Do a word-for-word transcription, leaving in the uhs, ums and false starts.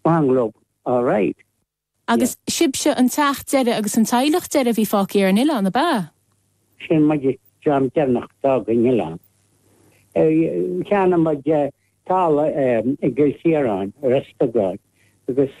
Bungalow all right. Agus sibhse an teach deiridh agus an teaghlach deiridh a bhí fágtha ar an oileán ab ea? Sin muid an dream deireanach a d'fhág an oileán. Cheannaigh muid talamh i gCill Chiaráin, Ros Dugáin, agus